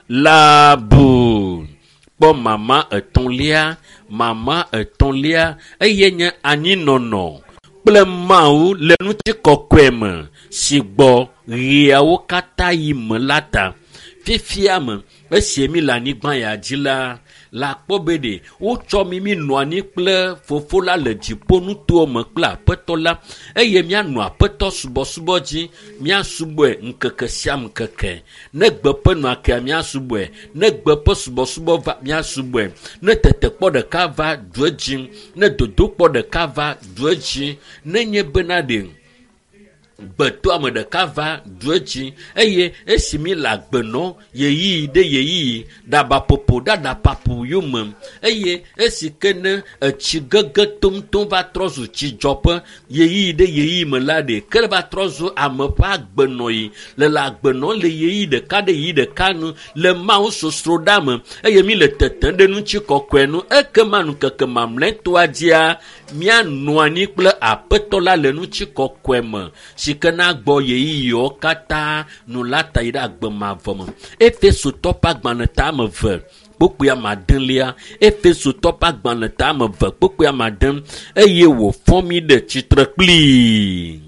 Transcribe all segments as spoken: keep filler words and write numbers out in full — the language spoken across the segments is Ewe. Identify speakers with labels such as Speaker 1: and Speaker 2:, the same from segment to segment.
Speaker 1: la bu. Kpɔ mama etɔ̃lia, mama etɔ̃lia eye nye anyinɔnɔ kple Mawu le ŋutikɔkɔe me si gbɔ ɣeawo katã yi me la ta. Fifia me, esi mi le anyigba ya dzi la, la kpɔ be ɖe wotsɔ mi mi nɔ anyi kple fofo la le dziƒonutowo me kple aƒetɔ la eye míanɔ aƒetɔ subɔsubɔ dzi, míasubɔe ŋkeke sia ŋkeke. Ne gbe ƒe nɔa kea míasubɔe, ne gbe ƒe subɔsubɔ va míasubɔe, ne tetekpɔ ɖeka va du edzi, ne dodokpɔ ɖeka va du edzi, nenye bena ɖe gbetɔame ɖeka va du edzi eye esi mi le agbe nɔ ɣeyiɣi ɖe ɣeyiɣi ɖabaƒoƒo ɖe aɖaƒaƒo yome eye esi ke ne etsi gege tomtom va trɔ zu tsidzɔƒe ɣeyiɣi ɖe ɣeyiɣi me la ɖe ke va trɔ zu ame ƒe agbenɔɣi le le agbenɔ le ɣeyiɣi ɖeka ɖe ɣeyiɣi ɖeka nu le Mawu sosroɖa me eye mi le tetem ɖe ŋutikɔkɔe nu ekema ŋkeke mamlɛtɔa dzia míanɔ anyi kple aƒetɔ la le ŋutikɔkɔe me si ke na gbɔ ɣeyiɣiwo katã nu la ta yi ɖe agbe mavɔ me. Efesotɔ ƒe agbalẽ ta ame eve kpukpui ame adelia. Efesotɔ ƒe agbalẽ ta ame eve kpukpui ame ade eye wòfɔ mí ɖe tsitre kplii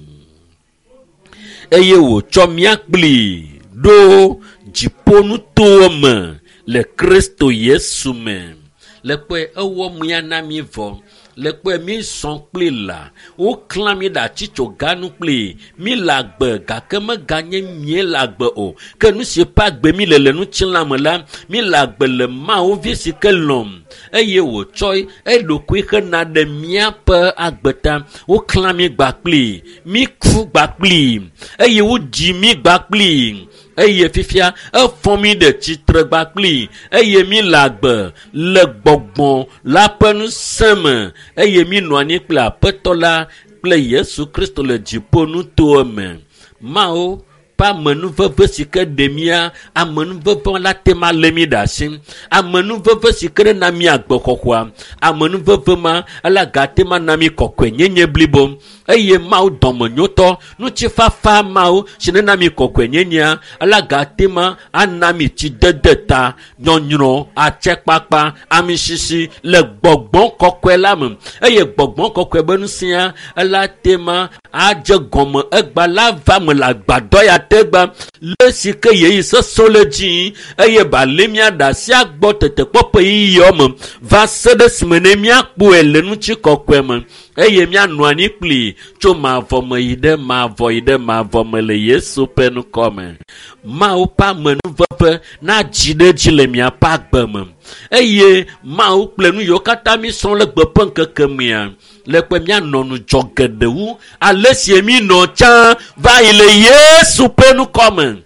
Speaker 1: eye wòtsɔ mía kplii ɖo dziƒonutowo me le Kristo Yesu me. Le kpɔe ewɔ mía na mí vɔ. Le kpɔe mi sɔn kpli la, woklã mi ɖe atsitsoganu kpli. Mi le agbe gake meganye mie le agbe o. Ke nu si ƒe agbe mi le le ŋutilã me la, mi le agbe le Mawu vi si ke lɔ̃m eye wòtsɔ eɖokui hena ɖe míaƒe agbe ta. Woklã mi gba kpli, mi ku gba kpli eye wodzi mi gba kpli. Eye fifia efɔ mi ɖe tsitre gba kpli eye mi le agbe le gbɔgbɔ la ƒe ŋusẽ me eye mi nɔ anyi kple aƒetɔ la kple Yesu Kristo le dziƒonutowo me. Mawu ƒe amenuveve si ke ɖe mía, amenuveve la te ma lé mi ɖe asi. Amenuveve si ke ɖe na mí agbexɔxɔa, amenuveve ma ela gate ma na mí kɔkɔenyenye blibo. Eye Mawu dɔmenyotɔ, ŋutifafa Mawu si nena mí kɔkɔenyenyea, ela gate ma ana mí tsidede ta, nyɔnyrɔ, atsekpakpa, amisisi le gbɔgbɔ kɔkɔe la me. Eye gbɔgbɔ kɔkɔe be ŋusẽa, ela te ma adze gɔme egba la va me le agbadɔ ya te gba le si ke ɣeyiɣi sesẽwo le dzi eye ba lé mía ɖe asi agbɔ tetekpɔ ƒe ɣeyiɣiwo me va se ɖe esime ne míakpɔe le ŋutikɔkɔe me eye míanɔ anyi kpli tso mavɔ me yi ɖe mavɔ yi ɖe mavɔ me le Yesu ƒe ŋkɔ me. Mawu ƒe amenuveve nadzi ɖe edzi le miaƒe agbe me eye Mawu kple nu yiwo katã mísrɔ̃ le gbe ƒe ŋkeke mea le kpe míanɔ ŋudzɔ geɖe wu ale si mí nɔ tsã va yi le Yesu ƒe ŋkɔ me.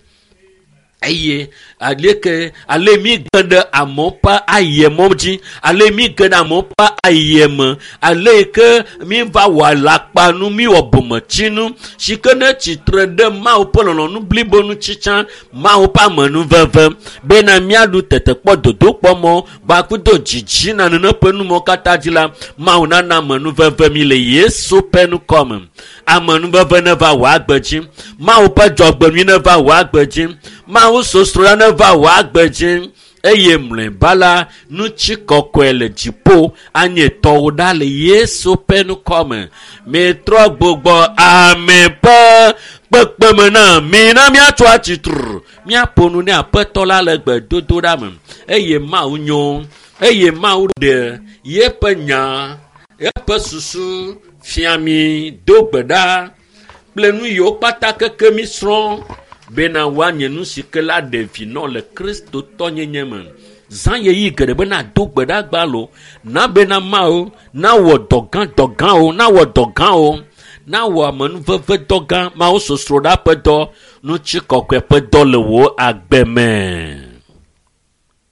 Speaker 1: Eye aleke ale mi ge ɖe amewo ƒe ayemɔ dzi, ale mi ge ɖe amewo ƒe ayeme, ale yi ke mi va wɔ alakpanu, mi wɔ bometsinu si ke ne tsitre ɖe Mawu ƒe lɔlɔ̃nu blibo ŋuti tsã, Mawu ƒe amenuveve bena míaɖu tetekpɔ dodokpɔmɔ gbakudo dzidzi na nene ƒe numɔwo katã dzi la, Mawu nana amenuveve mi le Yesu ƒe ŋkɔ me. Amenuveve neva wò agbe dzi, Mawu ƒe dzɔgbenyui neva wò agbe dzi, Mawu sosroɖa neva wò agbe dzi eye mlɔeba la ŋutikɔkɔe le dziƒo anye tɔwò ɖa le Yesu ƒe ŋkɔ me. Mitrɔ gbugbɔ ame ƒe kpekpeme na mi na míatso atsitre míaƒo nu ne aƒetɔ la le gbedodoɖa me eye Mawu nyo eye Mawu ɖe yeƒe nya eƒe susu fia mi do gbe ɖa kple nu yiwo kpata keke mi srɔ̃ bena woanye nu si ke la ɖe vi nɔ le Kristotɔnyenye me. Zã ɣeyiɣi geɖe be nado gbe ɖa gbalo, na bena Mawu nawɔ dɔ gã dɔ gãwo, nawɔ dɔ gãwo, nawɔ amenuveve dɔ gã, Mawu sosroɖa ƒe dɔ, ŋutikɔkɔe ƒe dɔ le wò agbe me.